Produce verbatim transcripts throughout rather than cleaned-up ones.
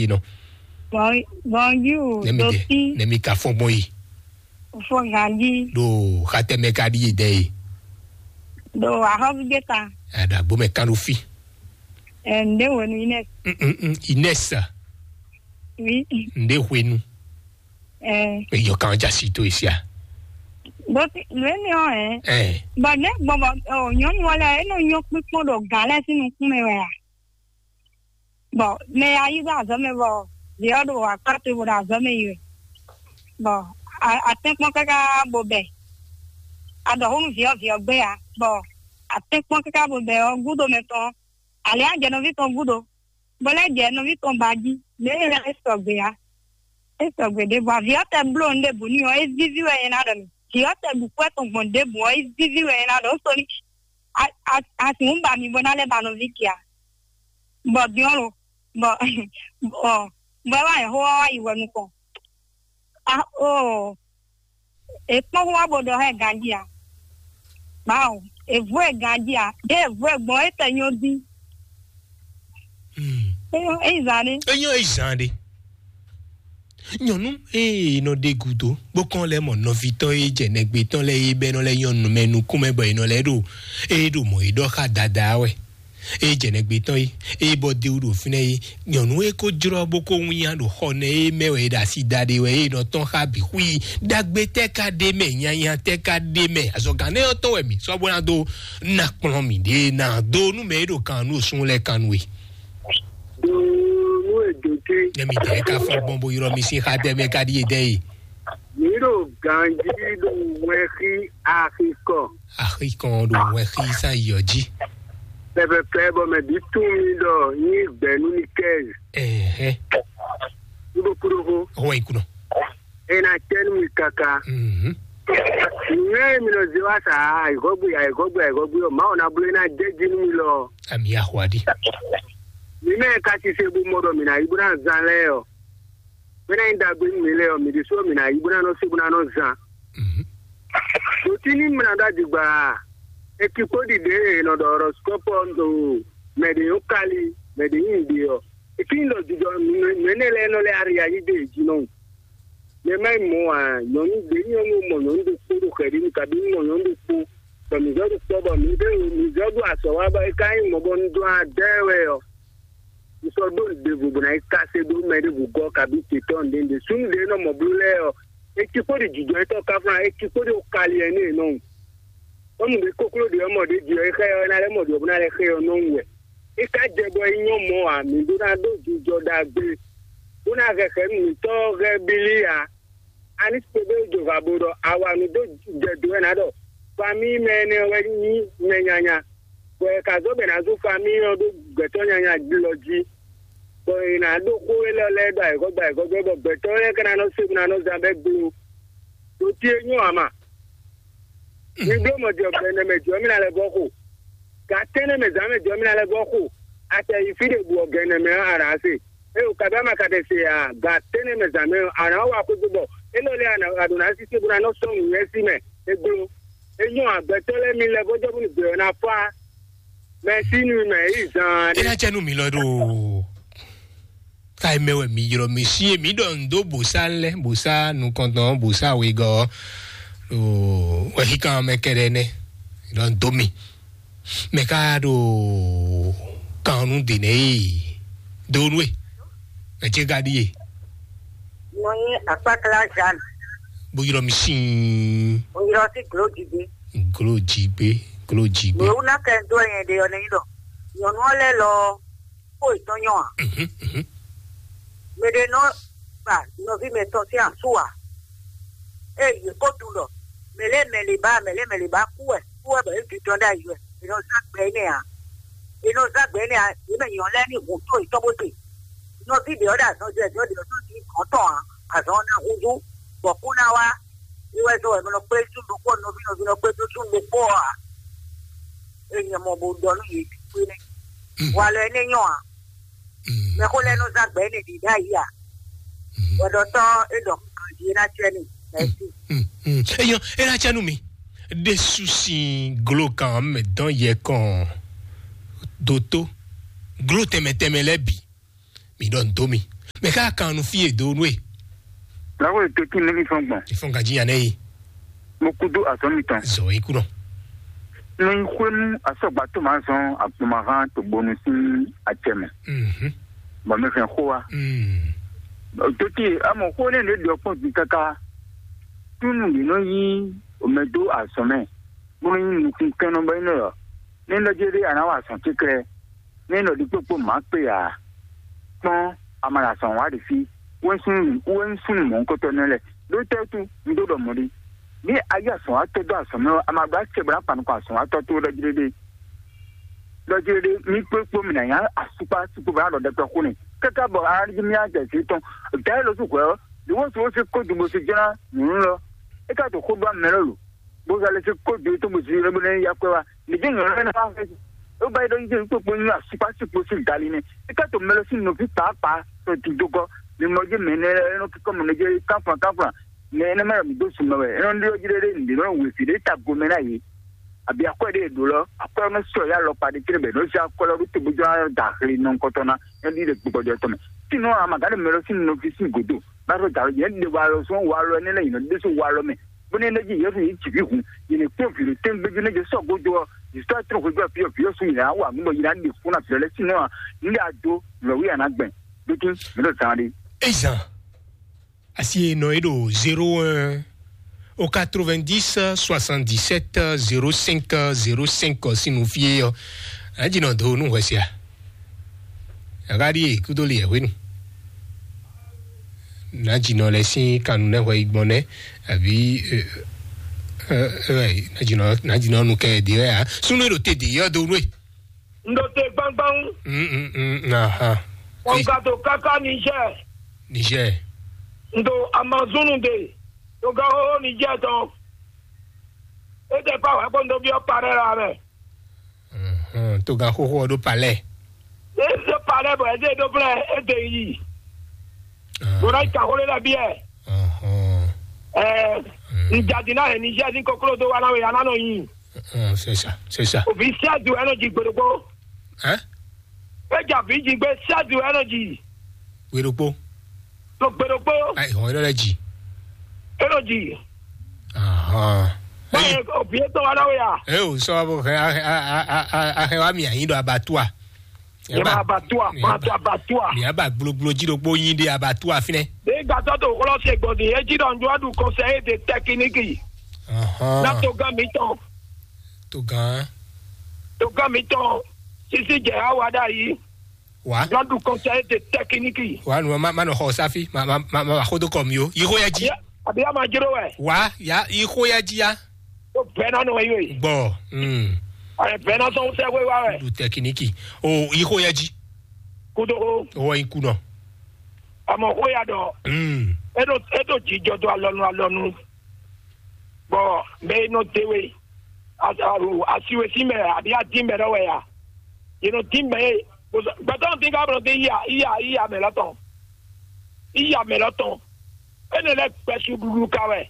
Yi nɔ. Bon, bonjour, Nɛmi de, Dopi, nɛmi ka fɔn gbɔn yi. Fɔn Gandhi, Ɖo xatɛmɛ ka ɖi yi dɛ yi. Do Ahovi Geta, Aɖa gbɔmɛ kan ɖo fi. Eh, nde wenu Ines. Mm, mm, mm, Ines. Oui. Nde hwenu. Eh, Eyɔ kan ja si to isia. Dopi, le ne o, eh. Eh. Bon, ne, bon, bon, oh, nyɔnu wala, e no nyɔ kpikpɔn ɖo galɛ si nukun mɛ wɛ a? Bon, mɛ ya yi ɖo azɔ̌ mɛ bɔ vǐ ɔ́ ɖo akpá towe bó ɖo azɔ̌ mɛ yi wɛ. Bɔ a- atɛ́nkpɔ́n káká bo bɛ. A ɖɔ xó nú vǐ ɔ́, vǐ ɔ́ gbé ǎ. Bɔ atɛ́nkpɔ́n káká bo bɛ ɔ́ gúdo mɛ tɔn, ali á jɛ nɔví tɔn gúdo, bɔ lɛ́ jɛ nɔví tɔn ba jí. Mɛ e lɛ́ é sɔgbe ǎ. É sɔgbe ɖěbǔ. Avǐ ɔ́ tɛ bló nǔ ɖěbǔ n'i ɔ́, é víví wɛ é ná ɖɔ mi. Vǐ ɔ́ tɛ ɖu kú ɛ tɔn gbɔn ɖěbǔ ɔ́, é víví wɛ é ná ɖɔ. Ó sɔ́ ní a- a- a sixú ba mi bó ná lɛ́ ba nɔví ce ǎ. Bɔ din ɔ́ lo, bɔ bɔ bɔ ɛ wá nyɛ xó wá wá yi wɛ nukɔn. A o, è kpɔ́n xó wá bó ɖɔ hɛn ganjí a? Bawo, è vú ɛ ganjí a? Ɖé è vú ɛ gbɔn é tɛ nyɔ dín. Hmm. É nyɔ é yi zan ɖé. Enyo ezan ɖe. Nyɔnu ee nɔ ɖe gudo bó kɔn lɛ mɔ nɔvi tɔn e jɛ nɛgbe tɔn lɛ e bɛ nɔ lɛ nyɔnu mɛ nukún mɛ bɔ e nɔ lɛ ɖo e ɖo mɔ e ɖɔ xa dada wɛ. E jɛ nɛgbe tɔn yi e bɔ de ɖo fínɛ yi. Nyɔnu e ko jrɔ bó ko wínya ɖo xɔ nɛ e mɛ wɛ e ɖo asi da ɖe wɛ e nɔ tɔn xa bi xwi. Dagbe tɛ ka ɖe mɛ, nyanya tɛ ka ɖe mɛ, azɔgan nɛ ɔtɔ wɛ mi sɔ bó na do na kplɔn mi ɖe na do nu mɛ e ɖo kan nu sun lɛ kan nu e. Do nú èdòté. Nyɛmi dɛ ka fɔ gbɔn bo yrɔ mi si xa dɛ mɛ ka ɖi edɛ yi. Mǐ ɖo ganjí ɖo wɛnxí axikɔ. Axikɔ ɖo wɛnxí sa yɔ jí. Pɛpɛpɛ bɔ mɛ bí tún mi ɖɔ yín gbɛ̌ nú mi kɛ́. Ɛhɛ. Ní bó kú ɖó xó. Ɔwɔ yi kunɔ. E ná tɛ́ nú mi káká. Mhm. Nǔnywɛ́ e mi nɔ zé wá sa ayǐhɔ́gbe ayǐhɔ́gbe ayǐhɔ́gbe ɔ́, Mawu ná bló e ná jɛ jí nú mi lɔ. Ami axwa ɖi. Mi mɛ ka sise bó mɔ ɖɔ mi ná yi bó ná zán lɛ́ɛ ɔ́, bó ná nyí ɖagbe nú mi lɛ́ɛ ɔ́, mi ɖésú ɔ́, mi ná yi bó ná nɔ se bó ná nɔ zán. Mhm. Ɖo tí ní mlá ɖó adigba, ekikpó ɖiɖe e nɔ ɖɔ horoscope ɔ́ ɖo mɛ ɖě nyɔ́ kali, mɛ ɖě nyí nǔɖé ɔ́, e tín ɖɔ jijɔ nǔ énɛ́ lɛ́ɛ nɔ lɛ́ ari ayí ɖe jí nɔ. Mɛ má yi mɔ ǎ, nyɔ̌nu ɖě nyɔ́nu mɔ nyɔ̌nu ɖokpó ɖo xɛɖínu, kabí mɔ nyɔ̌nu ɖokpó, bɔ mǐ zɔ́ ɖo kpɔ́, bɔ mǐ ɖo mǐ zɔ́ ɖo azɔ̌ wa bɔ é ka nyí mɔ̌ bɔ un dɔn adá ɛ wɛ ɔ́, un sɔ́ ɖó nǔɖévo bó ná yi káse dó mɛ ɖěvo gɔ́ kabí te tɔ́ nǔɖé nǔɖé. Súnnu ɖě nɔ mɔ bló lɛ́ɛ ɔ́, é cí xó ɖi jǐjɔ́ étɔn ká fún ná, é cí xó ɖi kali ɛnɛ́ nɔ. Bɔ nǔɖé kókló ɖě ɔ́ mɔ ɖě jí ɔ́, é xá ɛ ɔ́, é ná lɛ́ mɔ ɖě ɔ́ bó ná lɛ́ xá ɛ ɔ́ nɔ́ wú wɛ. É ka jɛ bɔ é nyɔ́ mɔ̌ ǎ, mǐ ɖó ná ɖó jijɔ ɖagbe, bó ná hɛxɛ̌ nǔtɔ́ ɔ́ hɛ́ bílí ǎ. Ani sixú ɖó jova bo ɖɔ awa nǔ dó jɛ do wɛ ná ɖɔ famíyi mɛ énɛ́ wɛ nyí mɛ nyanya, bɔ è ka zɔ́ bɔ è nǎ zú famíyi ɔ́ ɖó gbɛ̌tɔ́ nyanya lɔ jí, bɔ è nǎ ɖó xó élɔ́ lɛ́ɛ ɖo ayǐhɔ́gbe ayǐhɔ́gbe, bɔ gbɛ̌tɔ́ lɛ́ɛ ka ná nɔ se bó ná nɔ zán bɛ́ glo. Ɖó tí é nyɔ́ ǎ ma. Mi bló mɔ jɛ gbɛ nɛ mɛ jɔ mí ná lɛ́ vɔ́ xo. Gǎn tɛ́nnɛ mɛ zǎn mɛ jɔ mí ná lɛ́ vɔ́ xo. A tɛ yi fí ɖě bǔ ɔ́ gɛn nɛ mɛ ɔ́, a nǎ se. É o kabí ama ka tɛ se a gǎn tɛ́nnɛ mɛ zǎn mɛ ɔ́, a nǎ wa xwé bɔ é lɔ lɛ́ɛ a ɖǒ ná sísé bó ná nɔ sɔ́ nǔnywɛ́ sí mɛ. É gbló. É nyɔ́ agbɛtɔ́ lɛ́ɛ mi lɛ́ vɔ́ jɔ bó ní gbɛ ɔ́ ná fá. Mɛ sí nú mɛ yí zaan. É ná cɛ nú mi lɔ ɖo. Ka mɛ wɛ mi ylɔ mi si e mi ɖɔ ndo bosa lɛ, bosa nukɔntɔn, bosa wegɔ, o wɛhikan mɛ kɛɖɛ nɛ ɖɔ ndo mi. Mɛ ka ɖo kan nu de nɛ yi do nu e. Mɛ ce ka ɖi ye. Mo nyi akpakla Jeanne. Bo ylɔ mi si. Mo ylɔ si glo didi. Glo jigbe, glo jigbe. Mo wu na kɛ do yẹn de ɔ nɛ yi dɔ. Nyɔnu ɔ lɛ lɔ. Xó yětɔn nyɔ́ ǎ. Mhm, mhm. Mɛ ɖé nɔ gba nɔví mɛtɔn sín asú ǎ. Ée yě ko tunwun ɖɔ mɛ lɛ́ɛ mɛ lě ba, mɛ lɛ́ɛ mɛ lě ba kú wɛ, kú wɛ bɔ yě ɖu tɔn ɖ'ayǐ wɛ, è nɔ zán gbɛ énɛ́ ǎ. È nɔ zán gbɛ énɛ́ ǎ, yě mɛ nyɔ̌ lɛ́ɛ ní hun tó yětɔn bó te. Nɔví ɖě ɔ́ ɖo azɔn jɛ, jɔ ɖě ɔ́ tó ní gɔ̌n tɔn ǎ, azɔn ɔ́ ná húzú, bɔ kú ná wá. É wɛ zɔ́n wɛ mɛ nɔ kplé súnnu ɖokpó, nɔví nɔví nɔ kplé dó súnnu ɖokpó ɔ́ ǎ. É nyɛ mɔ bó ɖɔ nú yě ɖokpó énɛ́. Walɔ énɛ́ nyɔ́ ǎ. Mɛxó lɛ́ɛ nɔ zán gbɛ énɛ́ ɖě ɖ'ayǐ ǎ. Hwɛɖɔtɔ́ é ɖɔ ganjí é ná cɛ n'i. Mɛ̌si. Eyɔ é ná cɛ nú mi. Ɖésú sín glo kan mɛ dɔn yɛ kɔn dótó glo tɛnmɛ tɛnmɛ lɛ́ɛ bǐ. Mi ɖɔ nǔ dó mi. Mɛ ká kan nu fí e do nú e. Lawo e to tí mi ní fɔn gbɔn. Ìfɔn gàjí yàn nɛ yi. Mo kú dó azɔn mi tɔn. Zɔ ikú nɔ. Ní xwénu asɔgba tó máa zɔn àpòmahán tó gbónú sí àtsɛ mɛ. Mhm. Bɔn mi fɛn xó wa. Mm. Tó tí amɔ xó ní ní ɖɔ kpɔn di kaka. Túnú yìí nɔ yí omɛ dó azɔn mɛ. Bó nɔ yí nukún kɛn nɔ bɔ yín nɔ yɔ. Ní lɔ jɛ ɖé àná wa azɔn kíklɛ. Ní nɔ ɖi kpókpó má kpé ǎ. Kpɔ́n amalasan wá ɖi fí wɛnsúnú wɛnsúnú mɔ̌hunkɔtɔnú lɛ́ɛ ɖó tɛ́ wútu un dó ɖɔ mɔ̌ ɖi. Ní ayé azɔ̌watɔ́ dó azɔ̌ mɛ ɔ́, a ma ɖó acɛ bɔ ná kpa nukɔn azɔ̌watɔ́ tó ɖɔ jí ɖéɖé. Ɖɔ jí ɖéɖé mí kpókpó mì nǎ nyá asukpá sukpó bɔ ná ɖɔ ɖɛkpɛ xó n'i káká bɔ a ná jí mì á jɛ zǐn tɔn. Dǎ é lɔ sú hwɛ̌ ɔ́, ɖě wǒ sú ó sí kó dugbo sí jɛ́n ná nyǔ lɔ. É ka ɖo xó ɖó amɛ lɔ lo. Bó zɔ lɛ́ sí kó dó tɔn bó zi lɛ́ bó nɛ́ yá kwɛ́ wá. Nìjẹ́ nyɔ̌ lɛ́ ná fɛ. Ó ba yi ɖɔ yíyí kpókpó nyí asukpá sukpó sí gali nɛ́. É ka to mɛ lɔ sín nɔví pàápàá tɔ didógɔ. Mi mɔ jí mɛ nɛ lɛ́ nɔ kíkɔ mɛ nɛ jẹ́ káflan káflan. Mɛ nɛ mɛ mi dó sumɛ wɛ. É nɔ ɖyɔ́ jí ɖé ɖé nǔɖé nɔ wěfi ɖé ta gomɛ ná yě. Àbí akwɛ́ ɖé ɖó lɔ, akwɛ́ nɔ sɔ yá lɔ pa ɖé tɛ́ bɛ nɔ zé akwɛ́ lɔ ɖó tobújɔ da axlé nɔ ŋkɔtɔ ná. É ɖi ɖe gbɔgbɔjɔ tɔn mɛ. Sínú amagǎ ɖe mɛ lɔ sín nɔví sín gǒdo. Bá ɖo dǎwe jɛ ɖe walɔ sɔn walɔ ɛnɛ lɛ yìí nɔ ɖésú walɔ mɛ. Bó ní ɛnɛ́ jí Yesu yě jǐ ví hun, yě ní kpɔ́n vǐ ɖo tɛ́ngbéjú nɛ́ jɛ sɔ́ gó dó ɔ́, yě sɔ́ trɔ́n hwebí ɔ́ fí ɔ́, vǐ ɔ́ sú yě ná wa nǔ bɔ yě ná ɖe fún ná vǐ ɔ́ lɛ́ɛ sín nɔ́ ǎ. Ní ɖe ado lɔ̌wí a nǎ gbɛn. Dókín, mǐ ɖo zan ɖé. Ezan, asi e nɔ é ɖo zéro un au quatre-vingt-dix soixante-dix-sept zéro cinq zéro cinq sín nú fí é ɔ́, anjínɔ dó nú hwɛ sia. Aɣáɖíe kúdó li ɛ̀hwénu. Nǎjínɔ lɛ́ɛ sín kannu nɛ́ hwɛ yi gbɔn nɛ́, àbí ɛ, ɛ, ɛ, nǎjínɔ nǎjínɔ nu kɛ ɖě wɛ ǎ. Súnú e ɖo te ɖě yɔ dó nú e. Un ɖo te gbangban. Mm, mm, mm, aha. Kpɔnka to káká Niger. Niger. Un ɖo Amazon ɖe. To gán xóxó Niger tɔn. E tɛ pa wɛ kpɔn ɖo byɔ́ parẹ́ la mɛ. Mhm, to gán xóxó ɔ́ ɖó palɛ. E ɖo palɛ bɔ e ɖo blɛ e ɖe yi. Bɔnɔ yi ka xó lé la biɛ. Mhm. Ɛɛ, n jadi na hɛn Niger ní koklo do wa na we ya na nɔ yi. Mhm, c'est ça, c'est ça. Òbí sẹ́ẹ̀dù ẹ̀ nọ jí gbòdògbò. Hein? E jà bí jí gbé sẹ́ẹ̀dù ẹ̀ nọ jí. Gbòdògbò. Lo gbòdògbò. Ayi, hɔn, e nɔ lɛ jí. E nɔ jí. Ahɔn. Báyìí, òbí e tọ́ wa náwó ya. E o sɔ bó hɛn ahɛn wa mi anyi ɖo abatua. Yɛ ma abatua, ma to abatua. Mi aba gbloglo jí ɖokpó nyi ɖe abatua fínɛ. Ní gbàtọ́ tó kɔlọ́ ṣe gbọ̀dì yẹn jí dɔ̀njú ọdún kọsẹ̀ yé de tẹkiniki. Ahɔn. Na tó gán mi tɔn. Tó gán. Tó gán mi tɔn. Sisi jẹ awa dá yìí. Wa. Dɔndu kɔnsɛyi de tɛkiniki. Wa nu ma ma nɔ xɔ safi ma ma ma ma xo do kɔ mi o. Yi xo ya ji. Abi ama jiro wɛ. Wa ya yi xo ya ji ya. O bɛnna nɔ yi o yi. Gbɔ. Mm. Ayi bɛnna sɔn sɛ wɛ wa wɛ. Du tɛkiniki. O yi xo ya ji. Kudo o. O yi ku nɔ. Amɔ xo ya dɔ. Mm. Edo edo jijɔ do alɔnu alɔnu. Bɔ mɛ e nɔ de we asiwe sí mɛ abi adín mɛ ɖɔ wɛ ya. Yě nɔ dín mɛ e gbɛtɔ́ dín ká blɔ dín iya iya iya mɛ lɔ tɔn. Iya mɛ lɔ tɔn. Énɛ́ lɛ́ gbɛsu ɖuɖu ka wɛ.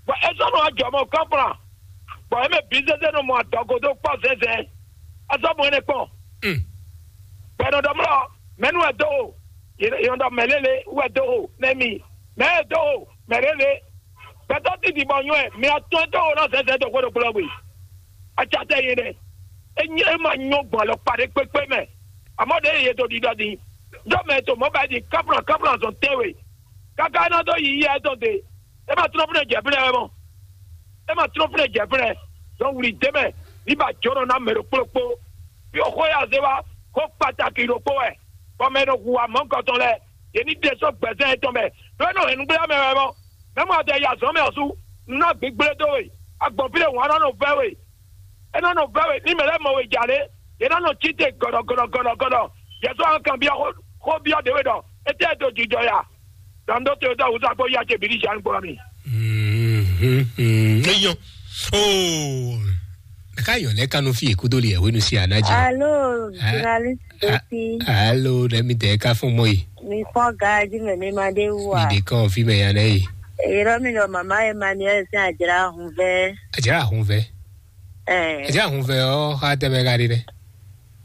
Bɔ é sɔ́ nɔ ajɔ mɔ kɔ́nflan. Bɔ é mɛ bǐ zézé nɔ mɔ adɔgo dó kpɔ́ zɛ́nzɛ́n. É sɔ́ mɔ énɛ́ kpɔn. Gbɛnɔ ɖɔ mlɔ mɛnu wɛ dó o. Yɔn ɖɔ mɛ lélẹ̀ wɛ dó o nɛ mi. Mɛ e dó o mɛ lélẹ̀. Gbɛtɔ́ titi bɔ nyɔɛ mi atɔn dó o nɔ zɛzɛ dó xwé ɖokpó lɔ gbe. Atsatɛ yé ɖɛ. E nyɛ e ma nyɔ gbɔn alɔ kpa ɖé kpékpé mɛ. Amɔ ɖe ye to ɖiɖɔ di. Dɔ mɛ to mɔ ba di kaplan kaplan zɔn tɛwe. Kaka e nɔ dó yi yɛ tɔn de. E ma trɔn fúnɛ jɛ fúnɛ wɛ mɔ. E ma trɔn fúnɛ jɛ fúnɛ. Dɔn wuli de mɛ. Ní ba jɔnɔ ná mɛ ɖo kplokpo. Fi o xó ya zé wa xó kpataki ɖokpó wɛ. Bɔ mɛ ɖo hu wa mɔ̌ kɔtɔn lɛ. Yě ní ɖe sɔ́ gbɛzɛn yětɔn mɛ. Ɖó é nɔ hɛn nǔgbéyá mɛ wɛ mɔ. Mɛ mɔ adɛ yi azɔ̌ mɛ ɔ́ sú. Nú ná gbǐgblé dó we. Agbɔ̌n fí ɖé hǔn ɔ́ nɔ nɔ vɛ́ we. É nɔ nɔ vɛ́ we ní mɛ lɛ́ɛ mɔ we jà lé. Yě nɔ nɔ cí te gɔ̌ɖɔ gɔ̌ɖɔ gɔ̌ɖɔ gɔ̌ɖɔ. Yě sɔ́ nɔ kanbyɔ́ xó xó byɔ́ ɖě we ɖɔ étɛ́ e dó jijɔ ya. Dɔn ɖó te dó awusa kpó yá ce bǐ ní zǎn gbɔ mi. Eyɔn. Oo. Ka yɔ lɛ kanu fi ekudo li ewenu si anaji. Alo, journaliste. Alo, ɖe mi de ka fún mɔ yi. Mi kpɔn gaji mɛ mi ma ɖe wu a. Mi de kɔn fi mɛ ya nɛ yi. Eyɔrɔ mi ɖɔ mama Emmanuel sin adzra hun vɛ. Adzra hun vɛ. Ɛɛ. Adzra hun vɛ ɔ xa tɛ mɛ ka ɖi nɛ.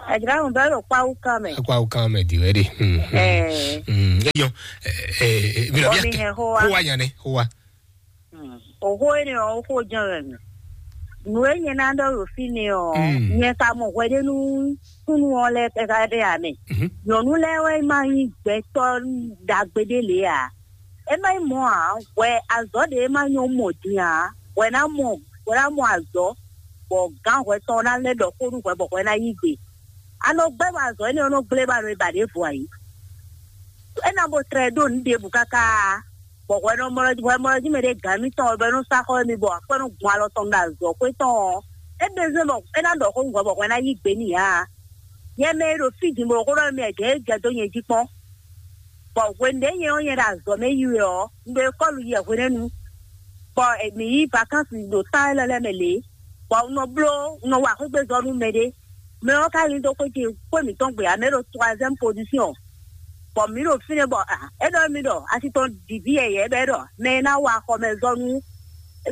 Adramu bɛ ɖo kpawu kan mɛ. Kpawu kan mɛ di wɛ de. Hmm, hmm. Eh. Hmm. Eyɔn. Eh, eh, eh, mi lɔ Omi bia hɛn xó wa. Xó wa nya ne, xó wa. Hmm. Oxó énɛ́ ɔ́, xó jɛ́n wɛ mɛ. Nǔ e nyɛ ná ɖɔ ɖo fínɛ́ ɔ́, Hmm. nyɛ ka mɔ hwɛɖénu súnnu ɔ́ lɛ́ɛ káká ɖe ǎ mɛ. Mhm. Nyɔ̌nu lɛ́ɛ wɛ ma nyí gbɛtɔ́ ɖagbe ɖé lě ǎ. É má nyí mɔ̌ ǎ, hwɛ azɔ̌ ɖě e má nyɔ́ mɔ din ǎ, hwɛ ná mɔ hwɛ ná mɔ azɔ̌, bɔ gǎn hwɛ tɔn ná lɛ́ ɖɔ xó nú hwɛ bɔ hwɛ ná yí gbe. A nɔ gbɛ́ bɔ azɔ̌ énɛ́ ɔ́ nɔ gblé ba nɔ e ba ɖěvo ǎ é. É ná bo tlɛ ɖó nǔ ɖěbǔ káká, bɔ hwɛ nɔ mɔ hwɛ mɔ jí mɛ ɖé gǎn émítɔn ɔ́ bɔ é nɔ sá xɔ émí bɔ akwɛ́ nɔ gbɔn alɔ tɔn ɖo azɔ̌ xwé tɔn ɔ́, é ɖezé bɔ é ná ɖɔ xó nú hwɛ bɔ hwɛ ná yí gbe n'i ǎ. Nyɛ mɛ e ɖo fí din bɔ xó ɖɔ mɛ gɛ̌ é jɛ dó nyɛ jí kpɔ́n. Bɔ hwenu ɖě nyɛ ɔ́ nyɛ ɖo azɔ̌ mɛ yi wɛ ɔ́, un ɖo ekɔ́lu yi wɛ hwenɛ́nu, bɔ mǐ yi vakánsi ɖo tán élɔ́ lɛ́ɛ mɛ lě, bɔ un nɔ bló un nɔ wa xwégbezɔ́ nú mɛɖé. Mɛ ɔ́ ka lin dó xwé ce xwé mǐtɔn gbe ǎ, mɛ ɖo troisième position, bɔ mǐ ɖo fínɛ́ bɔ é ɖɔ mì ɖɔ asi tɔn ɖi vǐ yɛyɛ̌ bɔ é ɖɔ mɛ e ná wa xɔmɛzɔ́ nú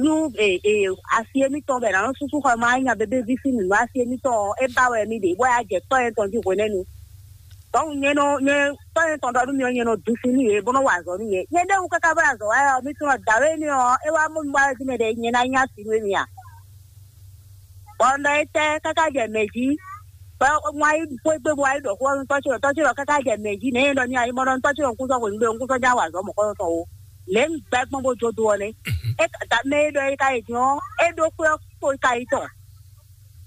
nú asi émítɔn bɔ è nǎ nɔ súsú xɔ ma nya bébéví sín nǔ asi émítɔn ɔ́, é ba wɛ mì ɖe bɔ é wá jɛ tɔ́ nyɛ tɔn jí hwenɛ́nu. Donc nyɛ nɔ nyɛ tɔ́ nyɛ tɔn ɖɔ nú mi ɔ́, nyɛ nɔ ɖu sin nú yě bó nɔ wa azɔ̌ nú yě. Nyɛ ɖéwu káká bó azɔ̌ wa ɔ́, mi tunɔ dǎwe énɛ́ ɔ́, é wá mɔ mi wá jí mɛ ɖě nyɛ ná nyí asi nú émí a? Bɔ un ɖɔ étɛ́ káká jɛ mɛ jí, bɔ un wá yi xwé gbe bó wá yi ɖɔ xó ɔ́ nú tɔ́ ce ɖɔ tɔ́ ce ɖɔ káká jɛ mɛ jí, nɛ̌ nyɛ ɖɔ ní a yi mɔ ɖɔ nú tɔ́ ce ɖɔ un kú sɔ́ hwenu ɖé un kú sɔ́ já wa azɔ̌ mɔ̌kɔ́ tɔn o. Lě un gbɛ́ gbɔn bó jó do ɔ́ nɛ́. É ka- da mɛ e ɖɔ é ka yi din ɔ́, é ɖó xwé ɔ́ kpo ka yi tɔn.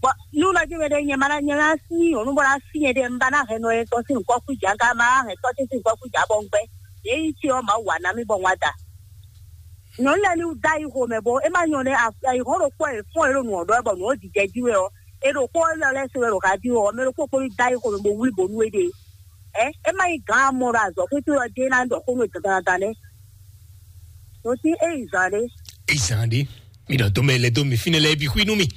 Bɔ nú nɔ jí mɛ ɖé nyɛ ma ná nyɛ ná sí nyɔ̌nu bɔ ná sí nyɛ ɖé un ba ná hɛn nɔ nyɛ tɔn sín nǔkɔ kú jà ká ma ná hɛn tɔ́ ce sín nǔkɔ kú jà bɔ un gbɛ. Yě yi ce ɔ́ Mawu wa ná mì bɔ un wá da. Nyɔ̌nu lɛ́ɛ ní da yi xo mɛ bɔ é má nyɔ nɛ́ ayǐhɔ́n ɖokpó e fɔ́n e ɖo nǔ ɔ́ ɖɔ wɛ bɔ nǔ ɔ́ jijɛ jí wɛ ɔ́, è ɖo xó ɔ́ lɛ́ lɛ́ se wɛ ɖo xa jí wɛ ɔ́, mɛ ɖokpó kpó ní da yi xo mɛ bó wlí bǒ nú éɖée. Ɛ é má nyí gǎn amɔ ɖo azɔ̌ xwétó ɔ́ jɛ ná ɖɔ xó nú dandan nɛ́. Nɔ sí é yi zǎn ɖé. Ezan ɖe. Mi ɖɔ dɔmɛ lɛ dó mi fínɛ lɛ bi xwí nú mi.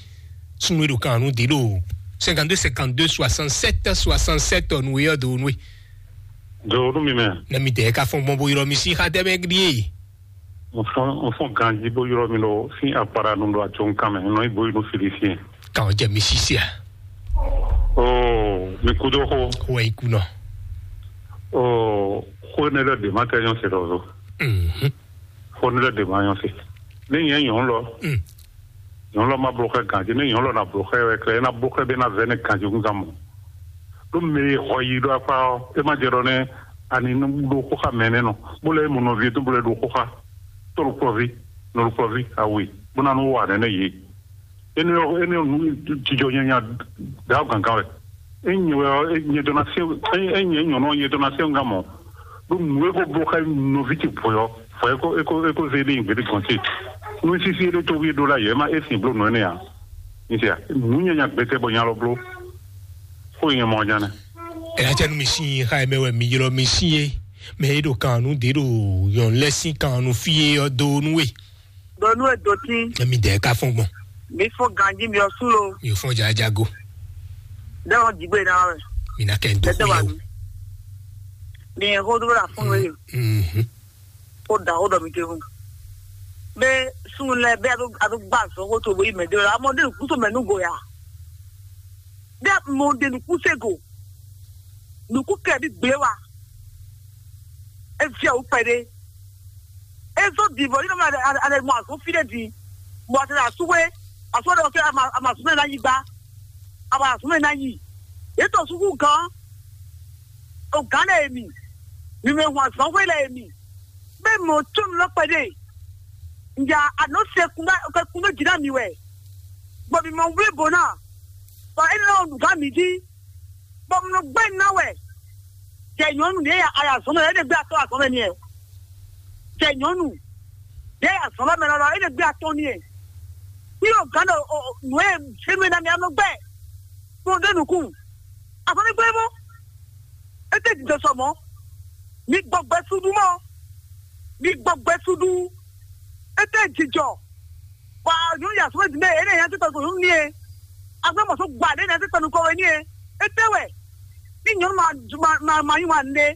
Sunu e ɖo kan nu di ɖo cinquante-deux cinquante-deux soixante-sept soixante-sept nu e yɔ do nu e. Do nu mi mɛ. Ne mi dɛ ka fɔn gbɔn bo yrɔ mi si xa dɛ mɛ ɖie. N fɔn n fɔn ganji bó yrɔ mi ɖo sín akpara nu ɖo atsɔnkan mɛ nɔ ibo inú fili fiɛ. Kan jɛ mi si sia. Oo mi kudo xo. Wɔ ikunɔ. Oo xo ne lɛ de ma kɛ nyɔ se ɖɔ zo. Mhm. Xó ní lɛ́ ɖe ma nyɔ́ se. Ní nyɛ nyɔ̌nu lɔ, Mm. Nyɔ̌nu lɔ ma bló xɛ ganjí, ní nyɔ̌nu lɔ na bló xɛ wɛ klɛ, é ná bló xɛ bɛ ná vɛ ní ganjí gúngán mɔ. Ɖó mɛ e xɔ yi ɖó akpá ɔ́, é má jɛ ɖɔ nɛ́ ani nú ɖó xó xá mɛ nɛ́ nɔ, bó lɛ́ mɔ nɔví tó bó lɛ́ ɖó xó xá, tó ɖo kplɔ́ví, nɔ ɖo kplɔ́ví, awe, bó ná nú wa nɛ́nɛ́ yě. Énɛ́ ɔ́, énɛ́ ɔ́ nǔ jijɔ nyanya ɖǎ gǎngán wɛ. Ényí wɛ ɔ́, é nyɛ dó ná se, ényí nyɛ nyɔ̌nu ɔ́, nyɛ dó ná se ŋgá mɔ. Ɖó nǔ e ko bló xá nɔví ce vɔ̌ ɔ́, vɔ̌ é ko é ko é ko zé ɖe nyi gběɖé gɔ̌n ce. Nú sísí é ɖó tó wí é ɖó lá yɛ, é má é sin bló nǔ énɛ́ ǎ. Mi se a? Nǔ nyanya gbɛtɛ bɔ nya lɔ bló. Xó nyɛ mɔ nya nɛ. Ɛ atɛ nu mi sin xa mɛ wɛ mi ylɔ mi sin ye. Mɛ e ɖo kan nu ɖe ɖo yɔn lɛ sin kan nu fí ye ɔ do nu we. Ɖo nú e do tín. Emi dɛ ka fɔn gbɔn. Mi fɔ ganji mi ɔ sú lo. Mi fɔn jajago. Ɖe wɔn jigbe na wɛ. Mi na kɛ n do Ɖe xú wa ye o. Mi ɛ xó dúró la fún mi. Mhm. Ó da ó dɔ mi te fún. Bɛ sunu lɛ bɛ a bɛ a bɛ gba zɔn ko to bo yi mɛ de la. Amɔ de kúso mɛ nu go ya. Bɛ mo de nu kúse go. Nukú kɛ bi gblé wa. Efiawu kpɛɖé. Ezɔ divɔ yi nɔ mɛ ale mɔ azɔ fi ɖe di. Bɔ a tɛ asúwe asúwe ɖe kɛ ama ama asúwe na yi gba. Ama asúwe na yi. Etɔ suku gan. O gan lɛ emi. Mi mɛ hu azɔnwe lɛ emi. Bɛ mɔ tso mi lɔ kpɛɖé. Nja anɔ se kun bɛ kun bɛ dzi na mi wɛ. Bɔ mi mɔ wle bo na. Bɔ e nɔ nu gan mi di. Bɔ mɔ gbɛ na wɛ. Jɛ nyɔnu ɖe ya aya zɔn mɛ, e de gbé atɔ azɔn mɛ ni ɛ. Jɛ nyɔnu ɖe ya zɔn mɛ lɔlɔ, e de gbé atɔ ni ɛ. Yɔ gan ɖo nue fɛn mɛ na mi anɔ gbɛ. Kpɔn ɖe nukun. Azɔn ni gbɛ mɔ. E te jijɔ sɔ mɔ. Mi gbɔ gbɛ sudu mɔ. Mi gbɔ gbɛ sudu. E te jijɔ. Bɔ nyɔnu ya sɔmɛ dime ene ya titɔ ko nyɔnu nie. Agbe mɔ so gba ɖe ne titɔ nukɔ we nie. Ete wɛ. Ni nyɔnu ma ma ma ma yi wa ne.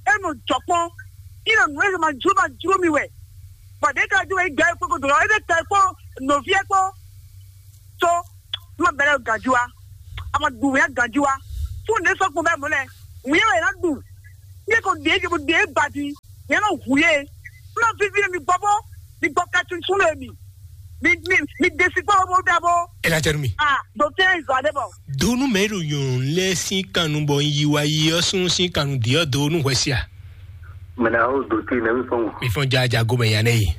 Enu jɔkpɔn. Ina nu ese ma ju ma ju mi wɛ. Bɔ de ka ju wɛ gba ko ko do ese ka ko no vie ko. So ma bɛrɛ ganju wa. Ama du ya ganju wa. Fún ne sɔ́ kpɔn bɛ́ mɔ̌ lɛ́ɛ, wǐ yɛn wɛ yě ná ɖu. Ní e ko ɖě yě ko ɖě ba jí, yě nɔ hu yě. Nɔ vivi mi gbɔ bó, mi gbɔ ka tún sún lé mi. Mi mi mi ɖe si kpɔ́ bó ɖa bó. Ela tɛ nu mi. Ah, ɖo tɛ zɔ ɖe bɔ. Donu mɛ ɖo nyɔnu lɛ sin kanu bɔ yi wa yi ɔ sun sin kanu di ɔ donu hwɛ sia. Mɛ na o do te nɛ mi fɔn. Mi fɔn ja ja go mɛ ya nɛ yi.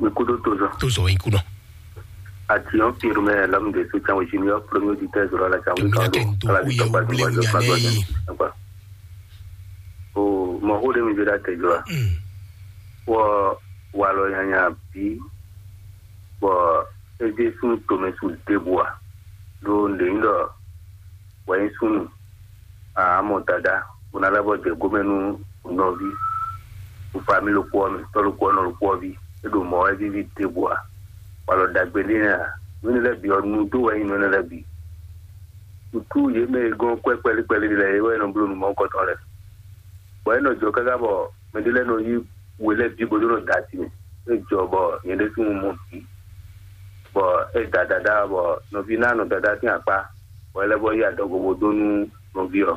Mi kudo to zɔ. To zɔ yi kunɔ. Ati ɔ pir mɛ lam de su can wisi ni ɔ premier di tɛ zɔrɔ la can. Domi na kɛ ndo ku ye wule nya nɛ yi. O mɔ xó ɖé mi ɖó ɖa tɛjɔ a? Wɔ walɔ nyanya bí bɔ é ɖésú tomɛ su ɖěbǔ a? Ɖó nǔɖé nyí ɖɔ wɛ nyí súnnu, a mɔ dada bó ná lɛ́ bɔ jɛ gómɛ nú nɔví, fami ɖokpó ɔ́ mɛ, tɔ́ ɖokpó ɔ́, nɔ ɖokpó ɔ́ ví, é ɖo mɔ̌ wɛ víví ɖěbǔ a? Walɔ ɖagbe ɖé nɛ́ a? Nǔ énɛ́ lɛ́ɛ bǐ ɔ́, nú dó wɛ nyí nǔ énɛ́ lɛ́ɛ bǐ. Nǔtú yě mɛ e gɔ́n kwɛ́ kpɛlí kpɛlí lɛ́ɛ é wɛ nɔ bló nǔ mɔ̌hunkɔtɔn lɛ́ɛ. Bɔ é nɔ jɔ káká bɔ mɛ ɖé lɛ́ɛ nɔ yí we lɛ́ɛ bǐ bó dó nɔ da asi mɛ. É jɔ bɔ nyɛ ɖésú mɔ bǐ, bɔ é da dadá, bɔ nɔví ná nɔ dadá sín akpá, bɔ é lɛ́ bɔ yí adɔgo bó dó nú nɔví ɔ́.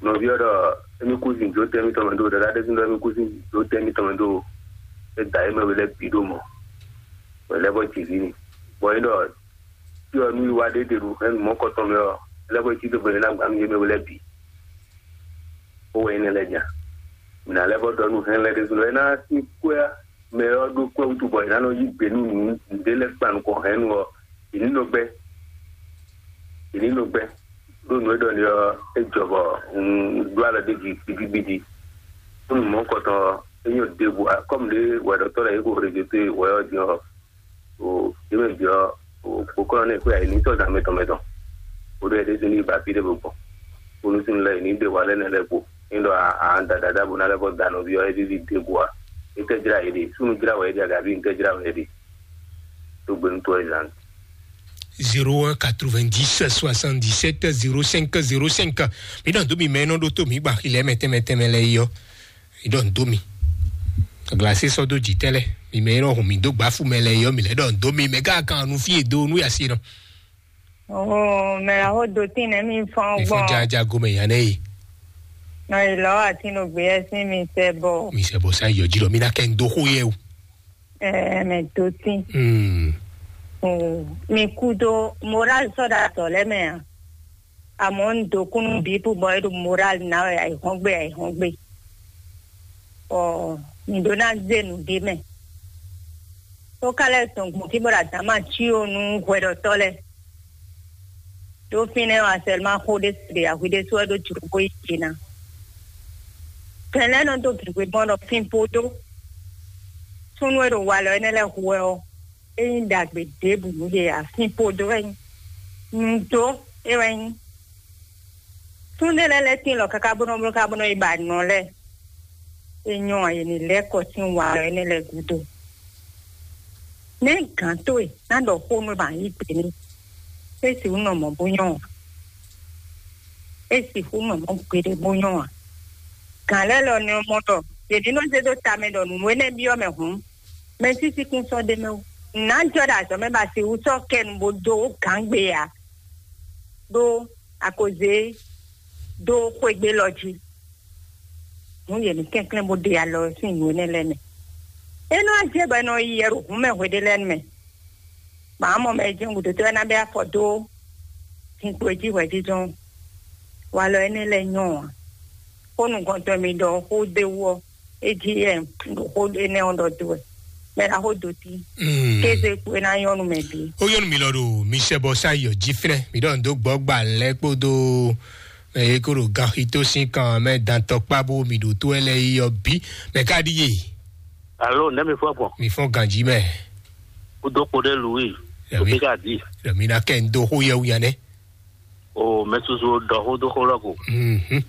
Nɔví ɔ́ ɖɔ émí kú sin jó tɛ́ mitɔn mɛ ɖó, dadá ɖésú ɖɔ émí kú sin jó tɛ́ mitɔn mɛ ɖó. É da yě mɛ we lɛ́ɛ bǐ ɖó mɔ̌, bɔ é lɛ́ bɔ jǐví ni. Bɔ é ɖɔ tí ɔ nú yi wá ɖé ɖe ɖo hɛn mɔ̌ kɔtɔn mɛ ɔ́, é lɛ́ bɔ cí dó gbɛmɛ ná gbǎn nú yě mɛ we lɛ́ɛ bǐ. Ó wɛ nyí nɛ́ lɛ́ɛ nya. Mǐ ná lɛ́ bɔ ɖɔ nú hɛn lɛ́ɛ ɖésú ɖɔ é ná sín kwɛ́ mɛ ɔ́ ɖó kwɛ́ wútu bɔ è nǎ nɔ yí gbe nú nǔɖé lɛ́ɛ kpan nukɔn hɛ̌nnu ɔ́, è ní nɔ gbɛ́. È ní nɔ gbɛ́. Ɖó nǔ e ɖɔ ni ɔ́, é jɔ bɔ un ɖó alɔ ɖ'é jí gbídígbídí. Nú mɔ̌ kɔtɔn ɔ́, é nyɔ́ ɖěbǔ, kɔ́mu ɖé wɛɖɔtɔ́ lɛ́ɛ yě ko hwlɛ́n jǒ towe wɛ ɔ́ din ɔ́, o yě mɛ bǐ ɔ́, o kpokɔ́nɔ nɛ́ xwé ayǐ ní tɔ́ zǎn mɛtɔn mɛtɔn. O ɖɔ éɖésú ní yi ba fí ɖé bó gbɔn. Bónú súnnu lɛ́ɛ yě ní ɖe wa lɛ́ nɛ́ lɛ́ɛ kpo. Ní ɖɔ a a da dadá bó ná lɛ́ bɔ da nɔví ɔ́, é víví dé go a? É tɛ́ jlá yě ɖe? Súnnu jlá wɛ é ɖe agaví ní tɛ́ jlá wɛ é ɖe? Tó gbe nú tó ɛ zǎn. Zéro un quatre-vingt-dix soixante-dix-sept zéro cinq zéro cinq. Mi ɖɔ dó mi mɛ nɔ ɖó tó mi gba xilɛ mɛ tɛmɛ tɛmɛ lɛ yɔ. Mi ɖɔ dó mi. Glasi sɔ dó jitɛ lɛ. Mi mɛ nɔ hun mi dó gbafu mɛ lɛ yɔ mi lɛ ɖɔ dó mi mɛ ká kan nu fie do nu yasi nɔ. Oh, mɛ la ho do tin nɛ mi fɔn. Mi fɔn gbɔn. Jaja gomɛ yan nɛ yi. Nɔ yi lɔ ati no gbe yɛ sin mi sɛ bɔ. Mi sɛ bɔ sa yɔ ji lɔ mi na kɛ n do xo yɛ o. Ɛɛ, mɛ do tin. Hmm. Oh, mi kudo moral sɔ da tɔ lɛ mɛ a. Amɔ n do kunu bi pu bɔ e do moral na wɛ ayi hɔn gbe ayi hɔn gbe. Ɔ, mi do na ze nu de mɛ. Tó ká lɛ sɔn gbɔn kí bɔ da dama tsi o nu hwɛɖɔtɔ lɛ. Ɖó fínɛ́ ɔ́, asɛlima xó ɖé se ɖe ahwi ɖé sú wɛ ɖó jlǒ bó yi jǐ ná. Tɛn lɛ́ɛ nɔ dó gěgbe gbɔn ɖɔ fínpo dó. Súnnu e ɖo walɔ énɛ́ lɛ́ɛ hu wɛ ɔ́, é nyí ɖagbe ɖěbǔ nú yě ǎ. Fínpo dó wɛ nyí. Nǔ dó é wɛ nyí. Súnnu lɛ́ɛ lɛ́ tín lɔ káká bó nɔ bló ká bó nɔ yi ba nɔ lɛ́ɛ. É nyɔ́ ǎ, yě ní lɛ́ kɔ sín walɔ énɛ́ lɛ́ɛ gúdo. Nɛ̌ gǎn towe ná ɖɔ xó nú ba yí gbe n'i? É sixú nɔ mɔ̌ bó nyɔ́ ǎ. É sixú nɔ mɔ̌ gbeɖé bó nyɔ́ ǎ. Gǎn lɛ́ɛ lɔ nɛ́ mɔ ɖɔ yě ní nɔ zé dó ta mɛ ɖɔ nǔ énɛ́ byɔ́ mɛ hǔn, mɛ sísí kún sɔ́ ɖ'é mɛ ó. Nǎ jɔ ɖo azɔ̌ mɛ ba sixú sɔ́ kɛ nu bó dó gǎn gbe ǎ. Ɖó a ko zé dó xwégbé lɔ jí. Nǔ yě ní kɛnklɛ́n bó ɖe alɔ sín nǔ énɛ́ lɛ́ɛ mɛ. É nɔ ajɛ bɔ è nɔ yi yɛ ɖo hǔn mɛ hweɖé lɛ́ɛ mɛ. Mǎ mɔ mɛ jɛ́n gǔdo tɔ́ ná bɛ́ afɔ dó zinkpo e jí hwɛjijɔ́n. Walɔ énɛ́ lɛ́ɛ nyɔ́ ǎ. Xó nukɔntɔn mi ɖɔ xó d'é wú ɔ́, é jí yɛ ɖo xó énɛ́ ɔ́ ɖɔ dó wɛ. Mɛ ɖaxó dó tí. Kéze kpo é ná nyɔ́ nú mɛ bǐ. Ó nyɔ́ nú mi lɔ ɖo mi sɛ bɔ sá yɔ jí flɛ́. Mi ɖɔ n dó gbɔ gbà lɛ́ kpódó eye kó ɖo ganxito sín kan mɛ dantɔkpá bó mi ɖo tó ɛ lɛ yi ɔ bí mɛ ká ɖíe. Alo, nɛ́ mi fɔ gbɔn? Mi fɔn ganji mɛ. Kúdó kpo ɖé lu wi. Yàmi. Òbí ká di. Yàmi na kẹ́ ń dó xó yẹ wúya nɛ. O mɛ susu ɖɔ xó dó xó lɔ ko. Mhm.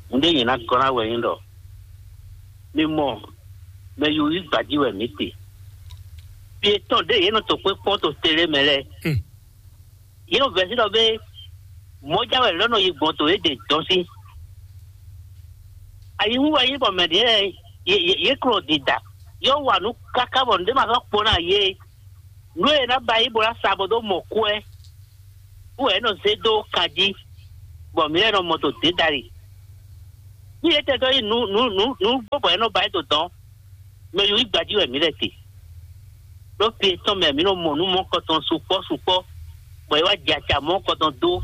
Ŋɖé yìí ná gɔ́ ná wɛ yín ɖɔ. Mi mɔ mɛ yúyí gbají wɛ mǐ te. Fi etɔn ɖé yě nɔ to kpé kpɔ́n to télé mɛ lɛ́ɛ. Hmm. Yě nɔ vɛ̌ sí ɖɔ bé mɔ̌ ján wɛ lɔ̌ nɔ yi gbɔn to yě ɖe dɔn sí. Ayihu wɛ nyí bɔ mɛ ɖě lɛ́ɛ yě yě yě klɔ́ dida yɔ wa nǔ káká bɔ nǔɖé ma sɔ́ kpo ná yě. Nǔ e ná ba yí bó ná sa bɔ dó mɔ kú ɛ. Wú wɛ é nɔ zé dó kan jí. bɔ mǐ lɛ́ɛ nɔ mɔ to dě dali. Ní yě tɛ dó yi nǔ nǔ nǔ nǔ gbó bɔ é nɔ ba é dó dɔn, mɛ yǒ yi gbají wɛ mǐ lɛ́ te. Ɖó fí etɔn mɛ mǐ nɔ mɔ nǔ mɔkɔtɔn sukpɔ́ sukpɔ́, bɔ é wá jɛ acǎ mɔkɔtɔn dó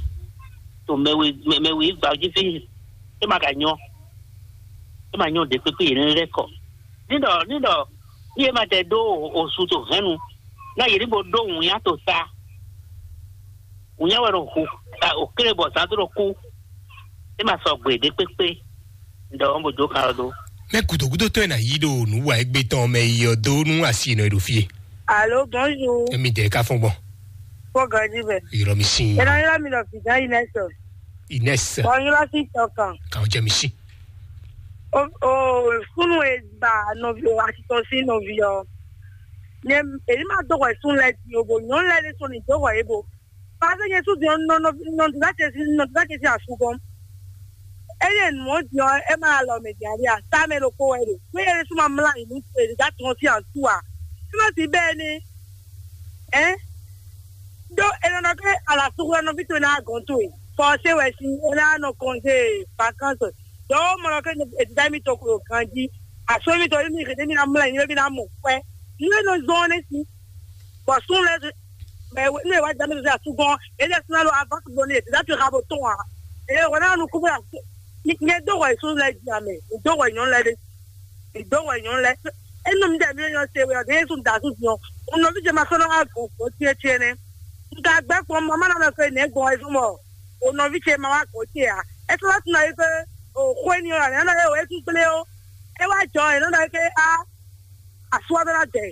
to mɛ we mɛ we yi gbají fí. É ma ka nyɔ, é ma nyɔ ɖě kpékpé yě lɛ́ kɔ. Ní ɖɔ ní ɖɔ ní yě ma tɛ dó osu to hɛnnu, ná yě ní bo ɖó wǔnyá to ta. Wǔnyá wɛ ɖo hu o kéré bɔ zǎn dó ɖo kú. É ma sɔgbe ɖě kpékpé. Ɖɔ ɔ́ bo dó kan ɔ́ dó. Mɛ gǔdo gúdo tɔn e na yí ɖo nǔ wa égbé tɔn mɛ yi ɔ dó nú asi nɔ e ɖo fie. Allô, bonjour. Emi dɛ ka fɔn gbɔn. Fo ganji bɛ. Yɔrɔ mi sin. Ena yɔrɔ mi lɔ fi dan Inès. Inès. Bɔ yɔrɔ si tɔ kan. Kan jɛ mi sin. O o sunu e ba nɔvi o asitɔ si nɔvi ɔ. Nye èyí ma dó wɛ sun lɛ di o bo nyɔnu lɛ de so ni dó wɛ e bo. Parce que Yesu di nɔ nɔ nɔ dula cɛ si nɔ dula cɛ si asugɔn. Eye nɔ di ɔ e ma alɔ mɛ di ali a sa mɛ ɖo ko wɛ ɖo. Ko ye Yesu ma mla yi nu e da tɔn si asu a. Sima si bɛ ni. Ɛ. Do e nɔ ke ala sugu nɔ bi to na gɔn to e. Fɔ se wɛ si e na nɔ kɔnze vacances. Dɔw mɔ ke e da mi to ko ganji. Aso mi to mi ke mi na mla yi mi na mɔ kwɛ. Ni e nɔ zɔn ne si. Bɔ sun lɛ mɛ ne wa jami sɛ asugɔn ele suna lo ava gbɔ ne dati ha bo tɔn a ele wɔ na nu kubo la nye do wɔ sun lɛ di ame do wɔ nyɔnu lɛ de do wɔ nyɔnu lɛ enu mi dɛ mi nyɔ se wɛ ɔde yesu da su diɔ unɔ mi jɛ ma sɔnɔ ha gbɔn gbɔn tiɛ tiɛ nɛ nka gbɛ kpɔn mama na mɛ fɛ nɛ gbɔn ɛsɛ mɔ o nɔvi ce ma wa gbɔn tiɛ a ɛsɛ wa tuna yi fɛ o xɔ eniyan la nɛ nɔ ye o esu gble o e wa jɔ e nɔ nɔ yi ke a asua bɛ na dɛ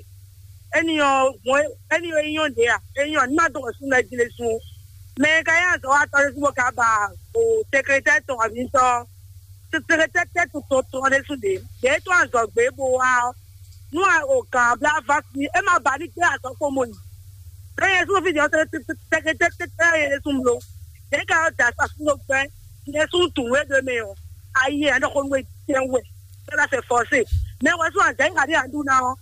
eni ɔ mɔ eni ɔ enyɔ de a enyɔ ni ma dɔgɔ sun na jile sun mɛ ka ya zɔ wa tɔ sun ka ba o sekretɛ tɔn abi tɔ sekretɛ tɛ tɔn tɔn de sun de de to azɔ gbe bo wa ɔ nu a o gan bla va si e ma ba ni gbe azɔ ko mo yi ne ye sun fi jɔ sekretɛ tɛ ye sun blo de ka yɔ da sa sun gbɛ ne sun tun we do me ɔ ayi ɛ ne ko nu e tɛ wɛ. Ela se forcé. Mais wɔ sún azɛ ŋa ɖe aɖu na ɔ.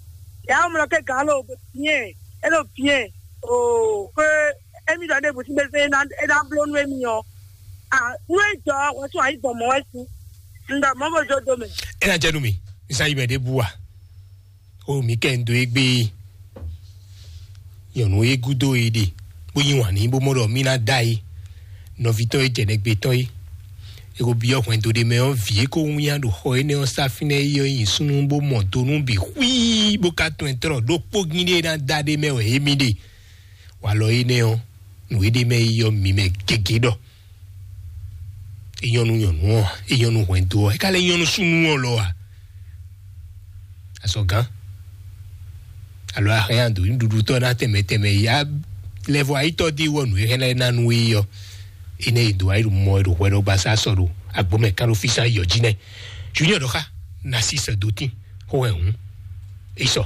Ya mlɔ ke gan lo bien. Elo bien. O ke emi dɔ ne busi be se na e na blo nu emi ɔ. Ah, nu e jɔ wɔ sún ayi gbɔn mɔ wɛ si. Nda mɔ bo jo do me. E na jɛ nu mi. Nsa yi mɛ de bua. O mi kɛ n do egbe. Nyɔnu e gúdo e ɖe bó yí wǎn n'i bó mɔ ɖɔ mí ná da e nɔví tɔn e jɛ nɛgbé tɔn é. E ko byɔ́ hwɛndo ɖé mɛ ɔ́, vǐ e ko wínnyá ɖo xɔ énɛ́ ɔ́ sá fínɛ́ é ɔ́ nyi súnnu bó mɔ do nú bǐ xwíí bó ka tunwun ɛ tlɔ́ ɖó kpógín ɖé e ná da ɖé mɛ wɛ émí ɖe. Walɔ énɛ́ ɔ́, nǔ e ɖ'é mɛ é yɔ mǐ mɛ gěgé ɖɔ é nyɔ́ nú nyɔ̌nu ɔ́ ǎ, é nyɔ́ nú hwɛndo ɔ́, é ka lɛ́ nyɔ́ nú súnnu ɔ́ lɔ ǎ. Azɔ̌gán alo ahɛn ado nǔɖuɖutɔ́ ná tɛnmɛ tɛnmɛ ya lɛvɔ ayítɔ́ dí wɔ nǔ e hɛn lɛ́ɛ ná nú é ɔ́, énɛ́ e dǒ ayǐ mɔ e ɖo hwɛ ɖɔ gbasá sɔ ɖo agbǒmɛ kán ɖo fí sán yɔ jí nɛ́. Junior ɖɔ xá Narcisse Dotin xó hɛn hǔn é sɔ.